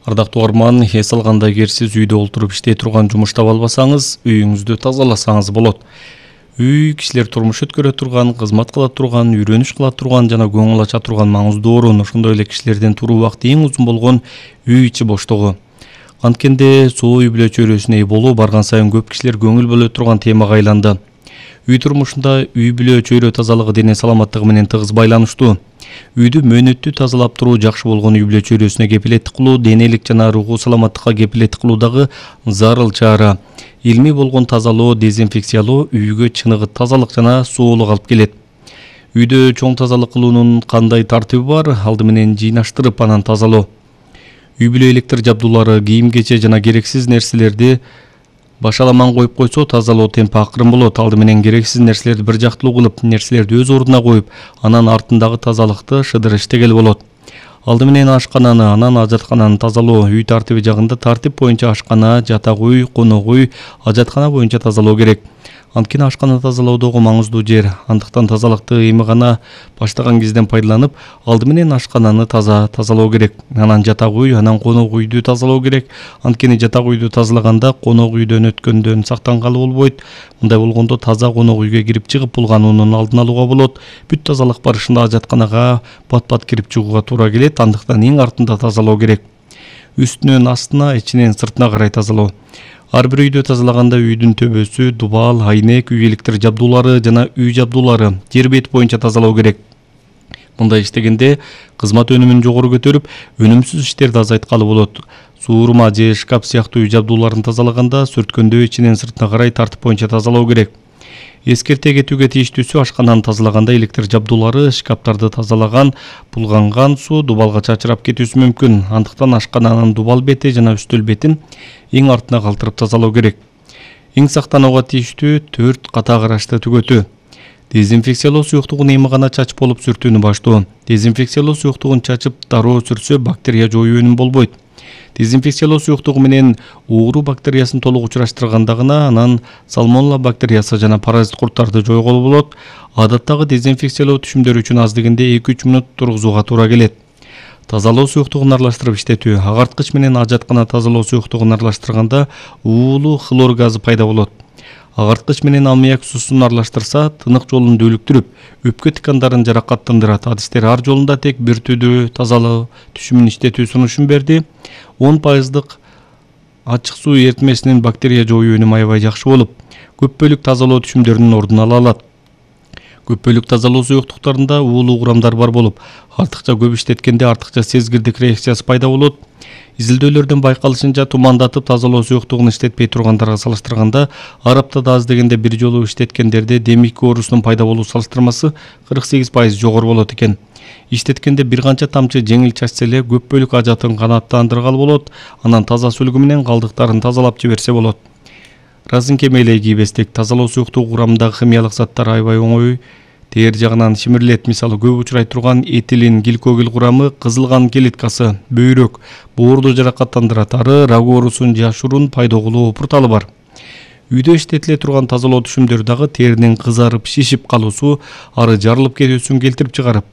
Ардактуу угарман, эс алганда эгер сиз үйдө олтуруп иштей турган жумуш таба албасаңыз, үйүңүздү тазаласаңыз болот. Үй кишилер турмуш өткөрө турган, кызмат кыла турган, үйрөнүш кыла турган жана көңүл ача турган маңыздуу орун. Ошондой эле кишилердин туруу убакыты эң узун болгон үй ичи боштугу. Анткенде суу үй бүлө чөйрөсүнө ээ болуу барган сайын көп кишилер көңүл бөлө турган темага айланды. Үй турмушунда үй бүлө чөйрө тазалыгы дене саламаттыгы менен тыгыз байланыштуу. Үйдү мөөнөттүү тазалап туруу жакшы болгон үй бүлө чөйрөсүнө кепилеттик кылуу, денелик жана руху саламаттыкка кепилеттик кылуу дагы зарыл чара. Илмий болгон тазалоо, дезинфекциялоо үйгө чыныгы тазалык жана сулуулук алып келет. Үйдө чоң тазалык кылуунун кандай тартиби бар? Алды менен жыйнаштырып анан тазалоо. Үй бүлө электр жабдуулары, кийим-кече жана керексиз нерселерди башаламан коюп койсо, тазалоо темпи акырын болот. Алды менен керексиз нерселерди бир жактылуу кылып, нерселерди өз ордуна коюп, анан артындагы тазалыкты шыдыр иштегел болот. Алды менен ашкананы, анан ажаткананы тазалоо. Үй тартиби жагында тартип боюнча ашкана, жатак үй, конок үй, ажаткана боюнча тазалоо керек. Анткени ашкана тазалоодогу маңыздуу жер. Андыктан тазалыкты эми гана баштаган кезден пайдаланып, алды менен ашкананы тазалоо керек. Анан жатак үй, анан конок үйдү тазалоо керек. Анткени жатак үйдү тазалаганда конок үйдөн өткөндөн сактангалы болбойт. Мындай болгондо таза конок үйгө кирип чыгып булгануунун алдын алууга болот. Бүт тазалык барышында ажатканага бат-бат кирип чыгууга туура келет. Андыктан эң артында тазалоо керек. Үстүнөн астына, ичинен сыртына карай тазалоо. Ар бир үйдү тазалаганда үйдүн төбөсү, дубал, айнек, үй электр жабдуулары жана үй жабдуулары жер бети боюнча тазалоо керек. Мындай иштегенде кызмат өнүмүн жогору көтөрүп, өнүмсүз иштерди азайткалы болот. Суурма же шкаф сыяктуу үй жабдууларын тазалаганда сүрткөндө ичинен сыртына карай тартип боюнча тазалоо керек. Эскерте кетүүгө тийиштүүсү ашкананы тазалаганда электр жабдуулары, шкаптарды тазалаган, булганган суу дубалга чачырап кетүүсү мүмкүн. Андыктан ашкананын дубал бети жана үстөл бетин эң артына калтырып тазалоо керек. Эң сактанууга тийиштүү 4 ката карашты түгөтүү. Дезинфекциялоо суюктугун эми гана чачып болуп сүртүүнү баштоо. Дезинфекциялоо суюктугун чачып дароо сүртсө бактерия жоюу өнүм болбойт. Дезинфекциялоо суюктугу менен ууру бактериясын толук учураштырганда гана анан сальмонелла бактериясы жана паразит курттарды жойгола болот. Адаттагы дезинфекциялоо түшүмдөрү үчүн аз дегенде 2-3 мүнөт тургузууга туура келет. Тазалоо суюктугун аралаштырып иштетүү. Агарткыч менен ажаткана тазалоо суюктугун аралаштырганда уулуу хлор газы пайда болот. Агарткыч менен аммиак суусун аралаштырса, тынык жолун дүүлүктүрүп, өпкө тыкандарын жаракаттандырат. Адистер ар жолунда тек бир түрдүү тазалоо түшүмүн иштетүү сунушун берди. 10% ачык суу эритмесинин бактерия жоюу өнүмү аябай жакшы болуп, көп бөлүк тазалоо түшүмдөрүнүн ордун ала алат. Көп бөлүк тазалоо суюктуктарында уулуу курамдар бар болуп, артыкча көп иштеткенде артыкча сезгирдик реакциясы пайда болот. Изилдөөлөрдөн байкалышынча, тумандатып тазалоо суюктугун иштетпей тургандарга салыштырганда, ар аптада аз дегенде бир жолу иштеткендерде демик оорусунун пайда болуу салыштырмасы 48% жогору болот экен. Иштеткенде бир канча тамчы жеңил чачса эле көп бөлүк ажатын канааттандыргалы болот, анан таза сүлгү менен калдыктарын тазалап жиберсе болот. Разынке мээлей кийбестик. Тазалоо суюктугу курамындагы химиялык заттар аябай оңой тээр жагынан шимирилет. Мисалы, көп учурай турган этилин гликогел курамы кызылган клеткасы, бөйрөк, боорду жаракаттандырат. Ары рак оорусун же ашурун пайда кылуу пурталы бар. Үйдө иштетиле турган тазалоо түшүмдөрү дагы теринин кызарып, шишип калуусу, ары жарылып кетүүсүн келтирип чыгарып,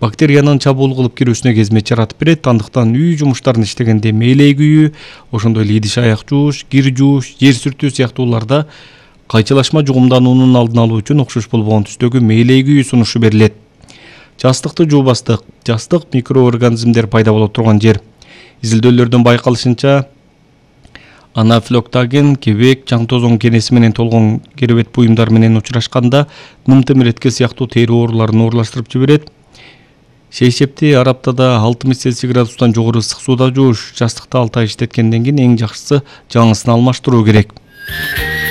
бактериянын чабуул кылып кирүүсүнө кезмет жаратып берет. Андыктан үй жумуштарын иштегенде мээлей күйүү, ошондой эле идиш аяк жууш, кир жууш, жер сүртүү сыяктууларда кайчылашма жугумдануунун алдын алуу үчүн окшош болбогон түстөгү мээлей күйүү сунушу берилет. Жастыкты жуубастык. Жастык микроорганизмдер пайда боло турган жер. Изилдөөлөрдөн байкалышынча, анафлоктаген, кебек, чаң тозоң кенеси менен толгон керебет буюмдар менен учурашканда нымтымиретке сыяктуу тери ооруларын оорлаштырып жиберет. Шейшепти ар аптада 60 Цельсий градустан жогору ысык сууда жууш. Жастыкты 6 ай иштеткенден кийин эң жакшысы жаңысын алмаштыруу керек.